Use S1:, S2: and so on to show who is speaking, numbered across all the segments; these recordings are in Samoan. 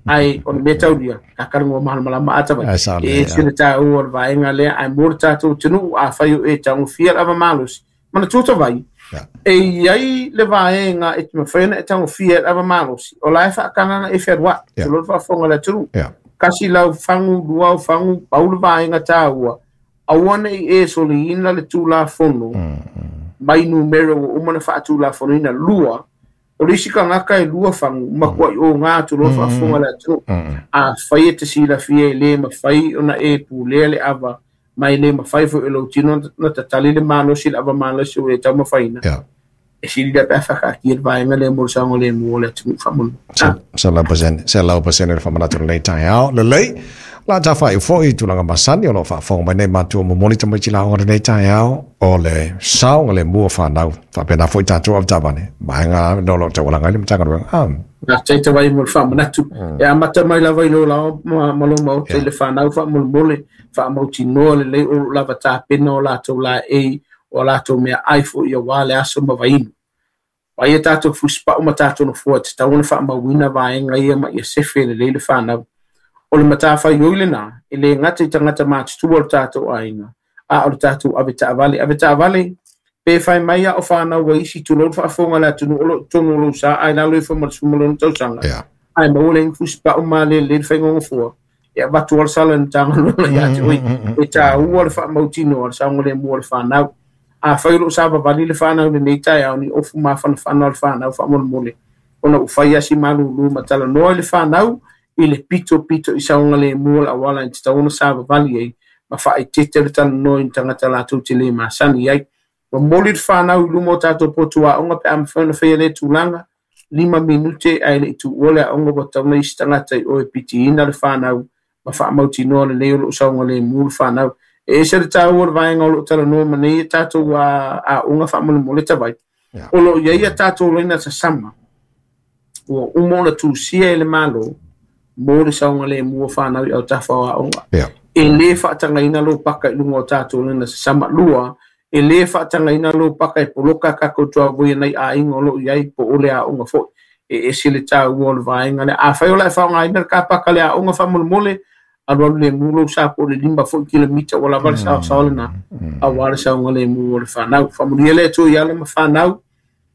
S1: Ae o le mea taulia, ta talanoa malamalama a Tavai.
S2: Ae sao
S1: E
S2: lelei,
S1: ese le taua o le vaega lea, ae mo le tatou atunuu, afai o e tagofia le ava malosi, manatua Tavai, e i ai le vaega e te mafai ona e tagofia i le ava malosi, o la e faatagaga e fealuai, tulou le faafofoga a le atunuu. Tasi lau fagu, lua au fagu, pau le vaega taua, aua ne i e soliina le Tulafono mai numera ua uma ona faatulafonoina. Lua, o le isi tagata e lua fagu, matuai oga tulou le faafofoga a le atunuu. Afai e te silafia e le mafai ona e pulea le ava, ma e le mafai foi e lou tino ona tatali le malosi i le ava malosi ua e taumafaina, e sili lea pe a faataatia le vaega lea mo le saogalemu o le atunuu faamolemole.
S2: 100%, 100% le faamanatu lenei taeao. Lelei, o le a tafaiu foi i tulaga masani o lo o faafofoga mai nei matua momoli tamaiti laoga lenei taeao o le saogalemu o fanau. Faapena foi tatou avetaavale, vaega o lo o taualaga ai le Matagaluega. Ah.
S1: Faafetai Tavai mo le faamanatu. E amata mai lava i lou lao ma lou maota i le fanau faamolemole, faamautinoa lelei o lo o lava tapena o latou laei, o a latou meaai foi aua le aso ma vainu. Vaai a tatou fusipau ma tatou nofoa e tatau ona faamauina vaega ia ma ia sefe lelei le fanau. O le matafaioi lena, e le gata i tagata matutua o le tatou aiga, a o le tatou avetaavale. Avetaavale, pe fai mai a o fanau a isi, tulou le faafofoga a le atunuu o lo o i totonu o lou sa ae lalo ifo ma le 16 tausaga, ae maua le fusipau ma lelei le faiga o nofoa, e avatu lava le sala i le Matagaluega ia te oe. E taua le faamautinoa le saogalemu o le fanau. Afai o lo o savavali le fanau i lenei taeao, ni ofu mafanafana o le fanau faamolemole, ona ua fai lava si malulu ma talanoa i le fanau i le pitopito i saogalemu o le auala e tatau ona savavali ai, ma faaeteete le talanoa i ni tagata latou te le masani ai. Momoli le fanau i luma o tatou potu aoga pe a mafai ona faia lea tulaga, 5 minute ae le i tuua le aoga ua tatau ona i se tagata i o e pitiina le fanau ma faamautinoa lelei o lo o saogalemu le fanau. E ese le taua o le vaega o lo o talanoa ma nei e tatou aoga faamolemole Tavai. O lo o i ai a tatou laina sasama ua uma ona tusia e le Malo mo le saogalemu o fanau i autafa o aoga. E le faatagaina lou paka i luga o tatou laina sasama. Lua, e le faatagaina lou paka e poloka tatou tuavoi nai aiga o lo o i ai po o le aoga foi. E ese le taua o le vaega lea. Afai o le a e faaaogaina le kapaka o le aoga faamolemole, alualu lemu lou sa po o le 5 foi kilomita ua lava le saosaoa lena aua le saogalemu o le fanau. Faamanuia le Atua i alo ma fanau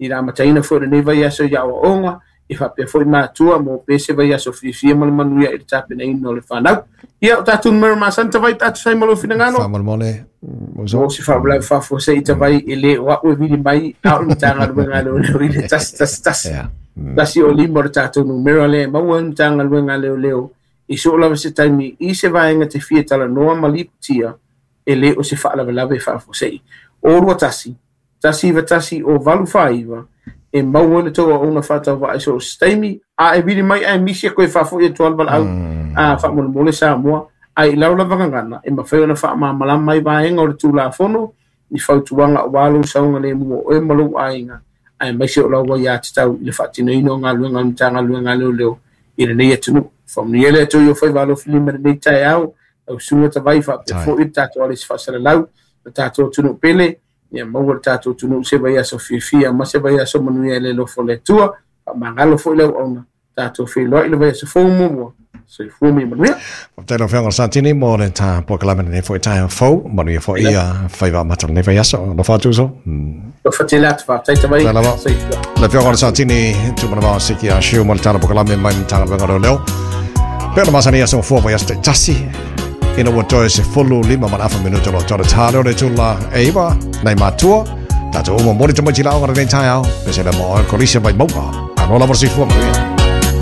S1: i le amataina foi o lenei vaiaso i aoaoga, e faapea foi matua mo pe se vaiaso fiafia ma le manuia i le tapenaina o le fanau. Ia, o tatou numera masani Tavai pe a tusa ai ma lou finagalo.
S2: Faamolemole,
S1: Mo se faalavelave faafuasei Tavai e le o au e vili mai, a o le Matagaluega a Leoleo i le 111. Tasi o lima o le tatou numera lea e maua ai le Matagaluega a Leoleo i soo lava se taimi i se vaega te fia talanoa ma lipotia e le o se faalavelave faafuasei. O 21 191 o 849 e maua ai le tou auauna faatauvaa i so o se taimi, a e vili mai ae misi e koe faafoi atu lava le valaau a faamolemole Samoa, ae i lau lava gagana e mafai ona faamalamalama ai vaega o le Tulafono ni fautuaga aua lou saogalemu o oe ma lou aiga, aemaise o lau aiatatau i le faatinoina o galuega a le Matagaluega a Leoleo i lenei atunuu. Faamanuia le Atua i o faiva alofilima i lenei taeao, lau Susuga Tavai faapea foi le tatou alesi faasalalau, le tatou atunuu pele, ia maua le tatou atunuu se vaiaso fiafia ma se vaiaso manuia i le alofa o le Atua. Faamagalo foi le auauna, tatou feiloai i le vaiaso fou muamua. Soifua ma ia manuia.
S2: Faafetai lau Afioga Santini mo le ta polokalame lenei foi taeao fou. Manuia foi ia faiva amata o lenei vaiaso. Alofa atu uso.
S1: Alofa tele atu, faafetai Tavai.
S2: Faafetai lava.
S1: Soifua.
S2: Le Afioga Santini, Tumanavao Siki a Shiu mo le tala polokalame mai Matagaluega o Leoleo. Pe ona masani aso fua vaiaso taitasi. Ina ua toe 15 ma le afa minuta o lo tore tā leo le tula e iwa, nei matua, tātou uma mori tamaiti la o lenei taeao, pese le mo o kolisi mai mauga. Ano lava le soifua manuia.